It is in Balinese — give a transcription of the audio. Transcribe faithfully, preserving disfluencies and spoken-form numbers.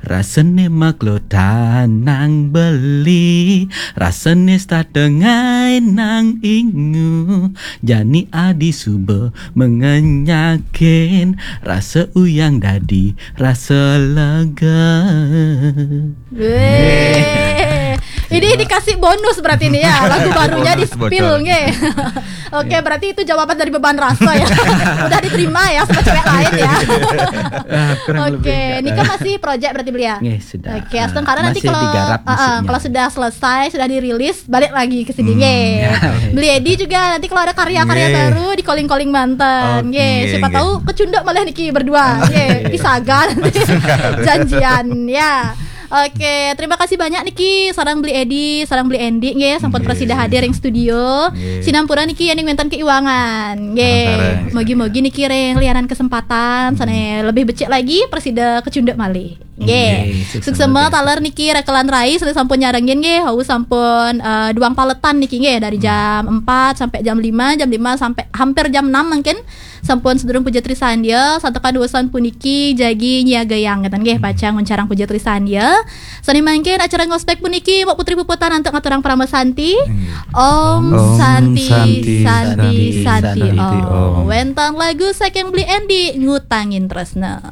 Rasane maklo tanang beli, rasane statengai nang ingu, jani adi suba mengenyakin, rasa uyang dadi rasa lega. Weh. Ini dikasih bonus berarti nih ya, lagu barunya di Bonus bocor. Spill nggih. Oke, berarti itu jawaban dari Beban Rasa ya. Udah diterima ya sama cewek lain ya. Ah, kurang Oke, lebih. ini kan masih project berarti beli ya. Nggih, sudah. Oke, astungkara nanti Masih kalau digarap uh, uh, musiknya. Kalau sudah selesai, sudah dirilis, balik lagi ke sini Hmm, nggih. ya. Beli Edi juga nanti kalau ada karya-karya Nggih. Baru di calling-calling Banten Oke, nggih. Siapa nggih. Tahu kecunduk malah niki berdua nggih. Pisaga nanti janjian ya. Oke, terima kasih banyak niki sarang Beli Edi, sarang Beli Endi nggih, sampun Nggih. Prasida hadir ring studio. Nggih. Sinampura niki yen wenten keiwangan nggih. Sareng-sareng. Mogi-mogi niki ring lianan kesempatan sana lebih becik lagi Prasida kecunduk malih. Nggih. Nggih, Suksema taler niki rekelan rai sudah sampun nyarengin nggih. Wau sampun eh, duang paletan niki nggih dari jam empat sampai jam lima, jam lima sampai hampir jam enam mungkin. Sampun sedurung Puja Trisandia, santukan usan puniki jagi nyiagayang ngeten nggih, pacang nguncarang Puja Trisandia. Sane mangkin acara ngospek puniki Mbok Putri Puputan antuk ngaturang parama santi. Om, Om Santi, Santi, Santi, Santi, Santi, Santi, Om. Om. Wenten lagu saking Beli Endi Ngutangin Tresna.